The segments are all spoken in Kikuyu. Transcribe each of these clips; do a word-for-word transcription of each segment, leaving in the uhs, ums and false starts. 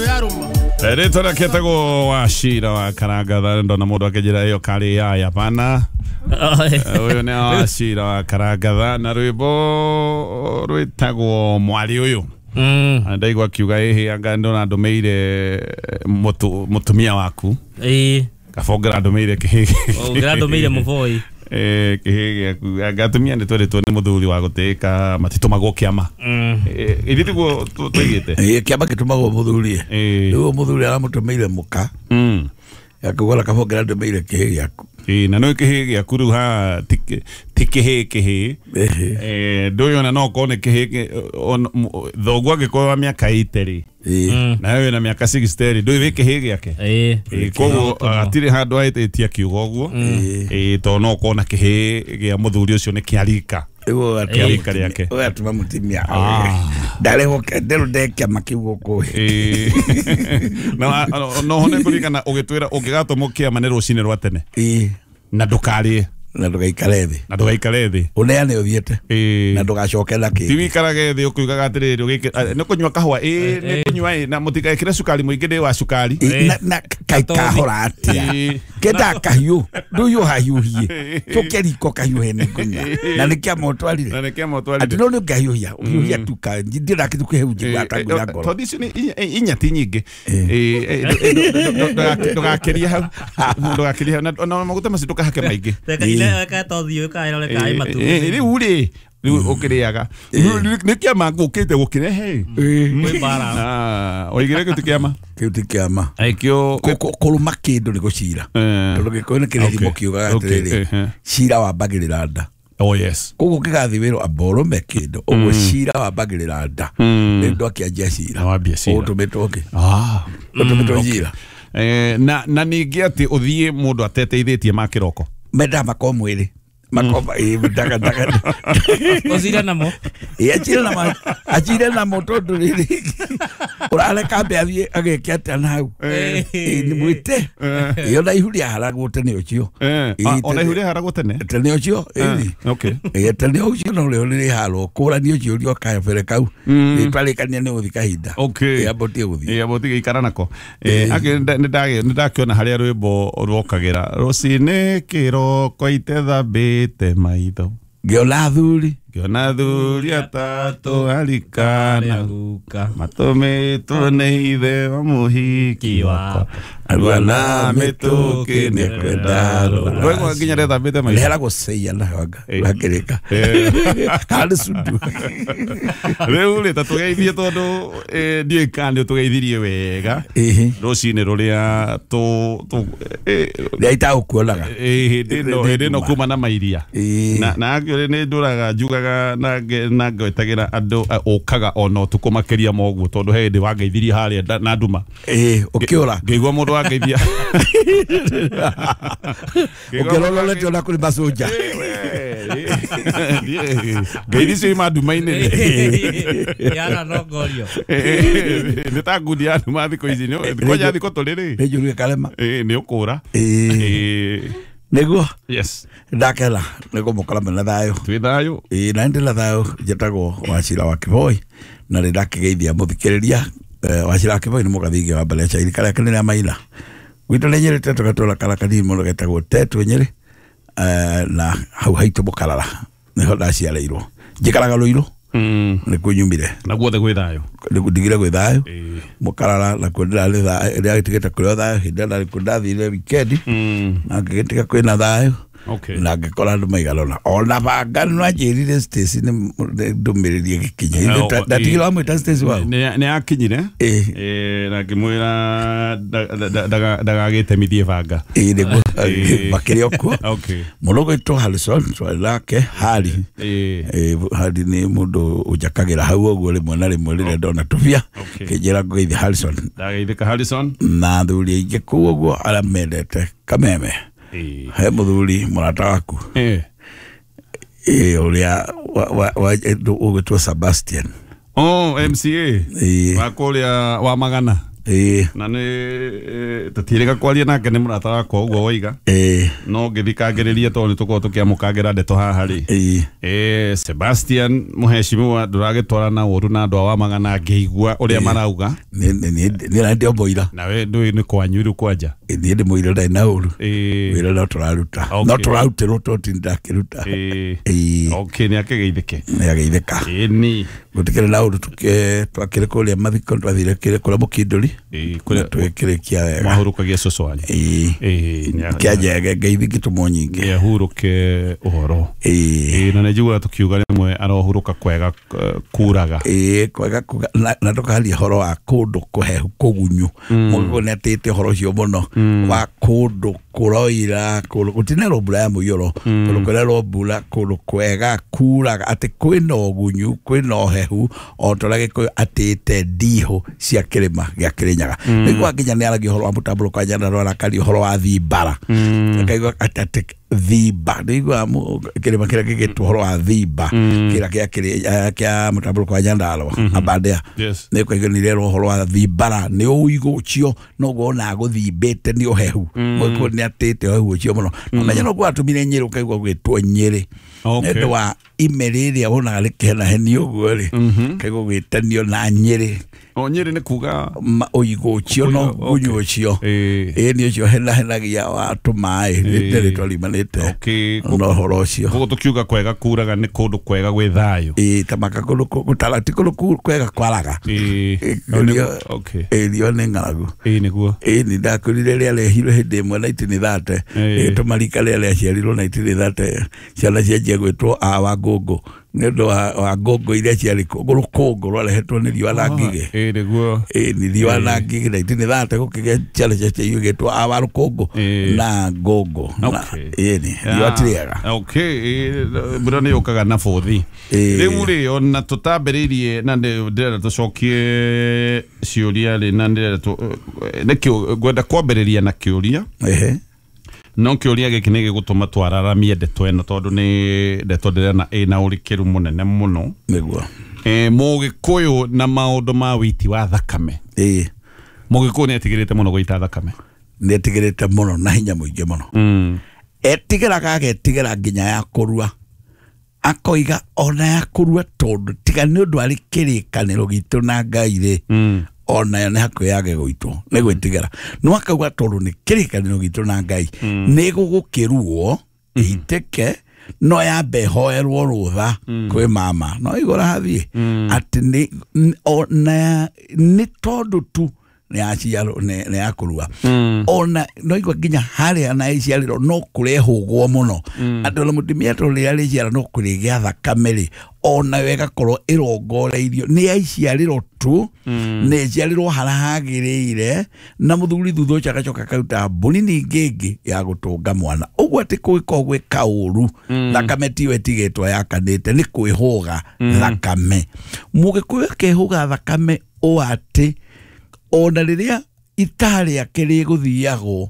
Rĩtwa rĩake etagwo Wachira wa Karangatha. Ndona mũndũ akĩnjĩra ĩyo karĩ yaya pana. Ũyũ nĩ Wachira wa Karangatha na rwĩmbo rwĩtagwo Mwarĩ Ũyũ. Mm. Ndaigua akiuga ĩhĩ anga ndona ndũmĩire mũtu- mũtumia waku. Ĩĩ. Kabongera ndũmĩire kĩhĩ. Ongera ndũmĩire mũboi. Eh, kĩhĩ gĩaku. Anga atumia nĩ twerĩtwo nĩ mũthuri wa gũtĩĩka matitũmagwo kĩama. Mm. Eh, ithuĩ tiguo tũ- tũigĩte. Ĩĩ, kĩama gĩtũmagwo mũthuri. Ĩĩ. Rĩu mũthuri aramũtũmĩire mũka. Mm. Akauga kabongera ndũmĩire kĩhĩ gĩaku. Ĩĩ, na nĩ kĩhĩ gĩaku rĩu haha ti kĩ- ti kĩhĩ kĩhĩ. Ĩhĩ. Eh, ndũĩ ona no ũkorwo nĩ kĩhĩ kĩ- on- m- thoguo angĩkorwo wa mĩaka eighty rĩ, Ĩĩ. Mm. nawe wĩna mĩaka sixty rĩ, ndũĩ wĩ kĩhĩ gĩake. Ĩĩ. Ĩĩ, koguo hatirĩ handũ ahĩtĩtie akiuga ũguo. Ĩĩ, tondũ no ũkorwo na kĩhĩ gĩa mũthuri ũcio nĩ kĩa rika. Rĩu Kĩa rika rĩake. ũgatũma mũtumia. Ah. Ndarehwo nderũ nde kĩama kĩu gũkũ. Ĩĩ. Na no hone kũririkana ũgĩtwĩra ũngĩgatũmwo kĩama nĩ rũcinĩ rwa tene. Ĩĩ. Na ndũkarĩe. Na ndũgaikare thĩ. Na ndũgaikare thĩ. Ũneane ũthiĩte. Ĩĩ. Na ndũgacoke na Ti kĩngĩ. wĩikarage thĩ ũkiugaga atĩrĩrĩ ũgĩkĩ- a, nĩ kũnyua kahũa ĩĩ nĩ kũnyua ĩĩ na mũtigekĩre cukari mũingĩ ndĩ wa cukari. Ĩĩ, na na kaĩ kahora atĩa. Ĩĩ. Kenda kahiũ ndũhiũhahiũhie tũke riko kahiũhe nĩ ngũnyua na nĩ kĩama ũtwarire. Na nĩ kĩama ũtwarire. Atĩ no nĩ ũngĩhiũhia ũhiũhia tu ka ndĩra kĩndũ kĩhehu njigua ta nguya ngoro. Tondũ icio nĩ inya- inya ti nyingĩ. Ĩĩ, ĩ, ndũ- ndũ- ndũgakĩrie hau. Ndũgakĩrie hau. Na na maguta macio ndũkahake maingĩ. Reka ile reka tothiũ kaĩra reka Ĩĩ, matumbĩ. ĩ, rĩu rĩ rĩu ũkĩrĩaga nĩ kĩama ngũkĩte gũkĩrehe. Kwĩ mbara. Ah, oigire kĩu ti kĩama. Kĩu ti kĩama. Ĩkĩo Kũ- kũ- kũrũma kĩndũ nĩ gũcira. Eh. Tondũ gĩkũyũ nĩ kĩrĩ thimo Okay. kiugaga Okay, atĩrĩrĩ, eh, eh. cira wambagĩrĩra nda. Oh yes. Koguo ũngĩgathiĩ wĩrwo amba ũrũme kĩndũ ũguo cira wambagĩrĩra nda. Rĩu ndwakĩanjia cira. Wambia cira. Ũtũmĩtwo kĩ? Ah. Ũtũmĩtwo cira. Eh, na na ningĩ atĩ ũthiĩ mũndũ ateteithĩtie ma kĩroko. Mendaga makorwo mwĩrĩ. Makorwo ĩĩ ndaga ndaga. Ũcire namo. Ĩĩ acire namo acire namo tondũ rĩrĩ ũrareka ambe athiĩ ageke atĩa na hau. Ĩĩ nĩ mwĩte. Ĩĩ ona ihu rĩaharagwo tene ũcio. Eh, Ĩĩ, ah, ona ihu tene- rĩaharagwo tene? Tene ũcio ĩĩ. Okay. Ĩĩ tene ũcio no rĩo rĩharwo kũrani ũcio ũrĩa kabere kau. Rĩtwarĩkania nĩ gũthiĩ kahinda. Okay. Ĩĩ amba ũtige gũthiĩ. Ĩĩ amba ũtige ikara nako. Eh, akĩ nĩ ndakĩona harĩa rwĩmbo rwokagĩra rũcinĩ kĩroko itethambĩte maitho. Ngĩona athuri. Ngĩona athuri atatũ arikana Guka. matũmĩtwo nĩ ithe wa mũhiki wakwa arua na mĩtũkĩ nĩ kwenda rũracio. Ndwaigua nginya rethambĩte maitho. Rĩhera gũceia na wanga Ĩĩ. ũrakĩrĩka. Kana nĩ cundu. Rĩu rĩ ta tũgeithie tondũ eh, ndiũĩ kana nĩ ũtũgeithirie wega Ĩhĩ. rũcinĩ rũrĩa tũ tũ eh, Rĩrĩa itagũkuonaga. eh, hĩndĩ ĩno hĩndĩ ĩno kuma na mairia. Ĩĩ. Na na actually nĩ ndũraga njugaga na nge- na ngwetagĩra andũ eh, ũkaga ona ũtukũ makĩria ma ũguo tondũ he hĩndĩ wangeithirie harĩa nda- na nduma. Ĩĩ ũkĩũra. Ngĩigua mũndũ wangeithia. Ũkĩũra ũrorete ona kũrĩ maconja. Ngeithi icio ima nduma-inĩ. Yana no ngorio. Nĩ ta ngundi ya nduma thikũ ici nĩ- kwanja thikũ tũrĩ rĩ. Nĩ njũru ĩkarema. Ĩĩ, nĩ ũkũra. Ĩĩ. Ĩĩ. Nĩguo. Yes. Ndakena nĩ kũmũkora mwĩna thayũ. Twĩ thayũ. Ĩĩ na ndĩ na thayũ njĩtagwo Wachira wa Kĩboi na nĩ ndakĩgeithia mũthikĩrĩria. Eh, Wachira wa Kĩboi nĩ mũgathingi wa mbere ya irika rĩake nĩ rĩa Maina. Gwitũ nĩ Nyĩrĩ Tetũ gatũra kara kanini mũno getagwo Tetũ Nyĩrĩ. Eh, na hau haitũ Mũkarara nĩho ndaciarĩirwo. Njikaraga Rũirũ. Mm. Nĩkuo nyumire. Na guothe gwĩ thayũ. Nĩkuo ndigire gwĩ thayũ. Ĩĩ. Mũkarara nakuo ndĩrarĩ thayũ ndĩragĩtigĩte kũrĩ o thayũ hĩndĩ ĩrĩa ndarĩ kuo ndathire wikendi. Mm. Na ngĩgĩtiga kwĩna thayũ. Okay. Na ngĩkora andũ maigana ũna. Ona banga nĩ anjĩrire Stacy nĩ nĩ ndũmĩrĩri ĩgĩkinya. Eh, Ithe o- ndatigire wamwĩta Stacy wau. Nĩ nĩ akinyire. Ĩĩ. Ĩĩ, na ngĩmwĩra ndagagĩtemithie banga. Ĩĩ nĩguo Ĩĩ. makĩrĩ o kuo. Okay. Mũndũ ũgwĩtwo Harrison twarĩ nake Harry. Ĩĩ. Ĩĩ, Harry nĩ mũndũ ũnjakagĩra hau ũguo rĩmwe na rĩmwe rĩrĩa ndona tũbia. Okay. Kĩnjĩra ngũgeithie Harrison. Ndageithĩka Harrison. Na athuri aingĩ kũu ũguo arĩa mendete Kameme. Ĩĩ. He mũthuri mũrata waku. Ĩĩ. Ĩĩ ũrĩa wa- wa- ũgwĩtwo Sebastian. Oh, M C A. Ĩĩ. Wa kũrĩa wa Magana. Ĩĩ. Na nĩ tũtirĩga kwaria nake nĩ mũrata wakwa ũguo woiga. Ĩĩ. No ngĩthikangĩrĩria tondũ nĩ tũkorwo tũkĩamũkangĩra ndeto haha rĩ. Ĩĩ. Eh, Sebastian mũhecimiwa ndũragĩtwarana ũru na andũ a Wamagana ngĩigua ũrĩa marauga. Nĩ nĩ nĩ ndĩ mũira. Nawe ndũĩ nĩ kwanyu rĩu kwanja. Niĩ ndĩ mũira ndarĩ na ũru. Ĩĩ. Wĩra no tũraruta. Okay. No tũrarutĩrwo to ti ndakĩruta. Ĩĩ. Ĩĩ. Okay, nĩ akĩgeithĩke. Nĩ ageithĩka. Ĩni. Gũtikĩrĩ na ũru tũkĩ twakĩrĩ kũrĩa mathiko twathire kĩrĩ kũrĩa mũkindũri. Ĩĩ, Na kũrĩa twĩkĩrĩkia wega. mwahurũkagia cũcũ wanyu. Ĩĩ. Ĩĩ, nĩ Kĩanjege ngeithi ngĩtũmwo nyingĩ. nĩ ahurũke ũhoro. Ĩĩ. Ĩĩ, na nĩ njiguaga tũkiuga rĩmwe arohurũka kwega eh, kuraga. Ĩĩ kwega kuga na, na tũkaria ũhoro wa kũndũ kũhehu kũgunyu. Mũgĩkũyũ nĩ atĩte ũhoro ũcio mũno wa kũndũ kũroira kũndũ gũtinerwo mbura ya mũiyũro kũndũ kũrerwo mbura kũndũ kwega kuraga atĩ kwĩna ũgunyu kwĩna ũhehu o ta ũrĩa Gĩkũyũ atĩte ndihũ cia kĩrĩma gĩa Kĩrĩnyaga. Nĩguo nginya nĩ aragia ũhoro wa mũtambũrũko wa Nyandarũa arakaria ũhoro wa thimbara. Akaigua atĩ atĩ thimba nĩigua kĩrĩma kĩrĩa gĩgĩtwo ũhoro wa thimba kĩrĩa kĩa kĩrĩ- kĩa mũtambũrũko wa Nyandarũa Aberdare. Yes. Nĩ ũkaigua nĩ irerwo ũhoro wa thimbara nĩ ũigũ ũcio noguo ona gũthimbĩte nĩ ũhehu. Mũgĩkũyũ nĩ atĩte ũhehu ũcio mũno. Na ũmenye noguo atũmire Nyĩrĩ ũkaigua gwĩtwo Nyĩrĩ. Okay. Nĩ ũndũ wa ime rĩrĩa wonaga rĩkĩhenahenio ũguo rĩ ũkaigua gwĩtanio na Nyĩrĩ. O Nyĩrĩ nĩ kuga Ma- ũigũ ũcio no Ũigũ, okay. gunyu ũcio. Ĩĩ. Ĩĩ nĩ ũcio henahenagia wa tũmaĩ nĩ rĩtwa riumanĩte Okay. na ũhoro ũcio. Koguo tũkiuga kwega kuraga nĩ kũndũ kwega gwĩ thayũ. Ĩĩ ta maka kũndũ kũ- gũtara ti kũndũ ku- kwega kwaraga. Ĩĩ. Ĩĩ, No, nĩ- rio- okay. Ĩĩ rio nĩ ng'aragu. Ĩĩ nĩguo. Ĩĩ nĩ ndakwĩrire rĩrĩa rehirwo hĩndĩ ĩmwe nineteen thirty Ĩĩ. ĩgĩtũma rika rĩrĩa rĩaciarirwo nineteen thirty ciana cianjia gwĩtwo a wa ngũngũ nĩ ũndũ wa wa ngũngũ iria ciarĩ kuo rũkũngũ rwarehetwo nĩ riũa na ngigĩ. Ĩĩ nĩguo. Ĩĩ nĩ riũa na ngigĩ nineteen thirty gũkĩgĩa ciana ciaciarirwo igĩtwo a wa rũkũngũ Ĩĩ. na ngũngũ. Na Okay. ĩĩ nĩ riũa ti rĩega. Okay, ĩĩ, mbura nĩ yũkaga na bũthi. Ĩĩ. Rĩu rĩ ona tũtambĩrĩirie na ndĩ- ndĩrenda tũcokie ciũria rĩ na ndĩrenda tũ- nĩkĩo ngwenda kwambĩrĩria na kĩũria. Ehe. No kĩũria gĩkĩ nĩ gĩgũtũma twararamie ndeto ĩno tondũ nĩ ndeto ndĩrona ĩna ũrikĩru mũnene mũno. Nĩguo. Eh, Mũgĩkũyũ na maũndũ ma wĩiti wa thakame. Ĩĩ. Mũgĩkũyũ nĩ etigĩrĩte mũno gũita thakame. Nĩ etigĩrĩte mũno na hinya mũingĩ mũno. Mm. Etigĩraga agetigĩra nginya ya kũrua. Akoiga ona ya kũrua tondũ tiga nĩ ũndũ arĩ kĩrĩkanĩro gitũ na Ngai rĩ. Mm. Ona yo nĩ hakuhĩ yage gũitwo nĩ gwĩtigĩra. No akauga tondũ nĩ kĩrĩkanĩro gitũ na Ngai nĩ gũgũkĩruo ĩitĩke no yambe ĩhoerwo rũtha kwĩ mama no igũra hathiĩ atĩ nĩ ona nĩ tondũ tu nĩ yaciarwo nĩ ya kũrua. Ona no igua nginya harĩa na ĩciarĩrwo no kũrehũgwo mũno atĩ ona mũtumia tondũ rĩrĩa rĩciara no kũrĩgĩa thakame rĩ ona yo ĩgakorwo ĩrongoreirio nĩ yaiciarĩrwo tu nĩ ĩciarĩrwo harĩa hagĩrĩire na mũthuri thutha ũcio agacoka akaruta mbũri ningĩ ĩngĩ ya gũtũnga mwana. Ũguo atĩ kũngĩkorwo gwĩ kaũru thakame tiyo ĩtigĩtwo yakanĩte nĩ kwĩhũga thakame. Mũgĩkũyũ akehũga thakame ũ atĩ ona rĩrĩa ita rĩake rĩgũthiagwo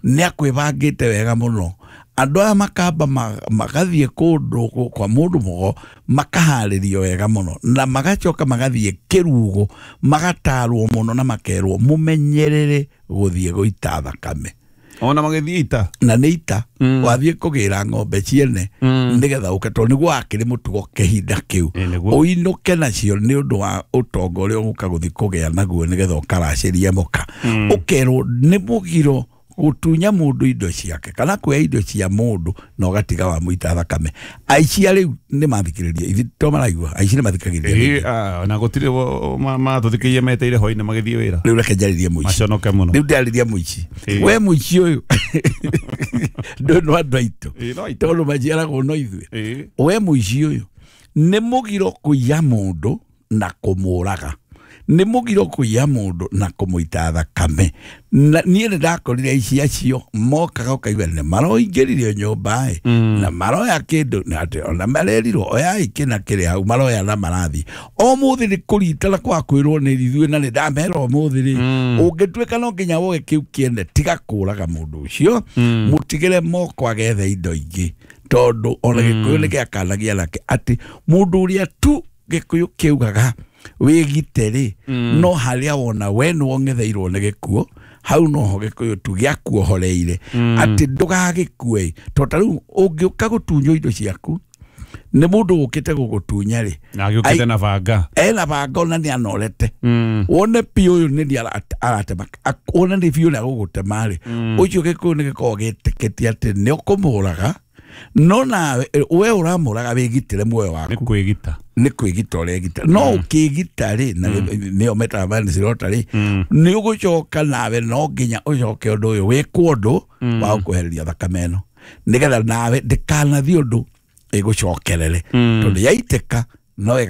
nĩ akwĩbangĩte wega mũno. Andũ aya makamba magathiĩ kũndũ kwa mũndũ mũgo makaharĩrio wega mũno na magacoka magathiĩ kĩrugo magatarwo mũno na makerwo mũmenyerere gũthiĩ gũita thakame. Ona magĩthiĩ ita. Na nĩ ita wathiĩ kũgĩra ng'ombe ciene nĩgetha ũke tondũ nĩguo wakĩrĩ mũtugo kĩhinda kĩu ũinũke nacio nĩ ũndũ wa ũtonga ũrĩa ũgũka gũthiĩ kũgĩa naguo nĩgetha ũkaracĩrie mũka. Ũkerwo nĩ mũgiro gũtunya mũndũ indo ciake kana kuoya indo cia mũndũ na ũgatiga wamũita thakame. Aici rĩu nĩ mathikĩrĩria ithuĩ to maraigua aici nĩ mathikagĩrĩria. Ĩĩ na gũtirĩ matũthikĩirie meteire hwainĩ magĩthiĩ wĩra. Rĩu reke njarĩrie mũici. Maconoke mũno. Rĩu ndĩrarĩria mũici. We mũici ũyũ ndũ no andũ aitũ tondũ maciaragwo no ithuĩ. We mũici ũyũ nĩ mũgiro kũiya mũndũ na kũmũraga. Nĩ mũgiro kũiya mũndũ na kũmũita thakame. Na niĩ nĩ ndakorire aici acio mokaga ũkaigua nĩ maroingĩririo nyũmba ĩ na maroya kĩndũ na atĩ ona marerirwo oyai kĩna kĩrĩ hau maroya na marathiĩ. Ũmũthĩ nĩ kũritana kwa kwĩrwo nĩ ithuĩ na nĩ ndamera ũmũthĩ rĩ ũngĩtuĩka no nginya woe kĩu kĩene tiga kũraga mũndũ ũcio mũtigĩre moko agethe indo ingĩ tondũ ona Gĩkũyũ nĩ gĩakanagia nake atĩ mũndũ ũrĩa tu Gĩkũyũ kĩugaga Wĩgite rĩ, no harĩa wona we nĩ wong'etheirwo nĩ gĩkuũ, hau noho gĩkũyũ tu gĩakuohoreire atĩ ndũgagĩkue. To ta rĩu ũngĩũka gũtunywo indo ciaku nĩ mũndũ ũkĩte gũgũtunya rĩ, Na agĩũkĩte na banga. Ena banga ona nĩ anorete, wone biũ ũyũ nĩ niĩ aratema, ak- wone nĩ biũ nĩ agũgũtema rĩ, ũcio gĩkũyũ nĩ gĩkoragwo gĩtĩkĩtie atĩ nĩ ũkũmũraga, no nawe we ũramũraga wĩgitĩre muoyo Nĩ waku. Kwĩgita. Nĩ kwĩgita ũregita, no ũkĩgita rĩ, na nĩyo metaga manslaughter rĩ, nĩ ũgũcoka nawe no nginya ũcoke ũndũ ũyũ wĩkwo ũndũ wa gũkwehereria thakame ĩno, nĩgetha nawe ndĩkanathiĩ ũndũ ĩgũcokerere, tondũ yaitĩka no ĩga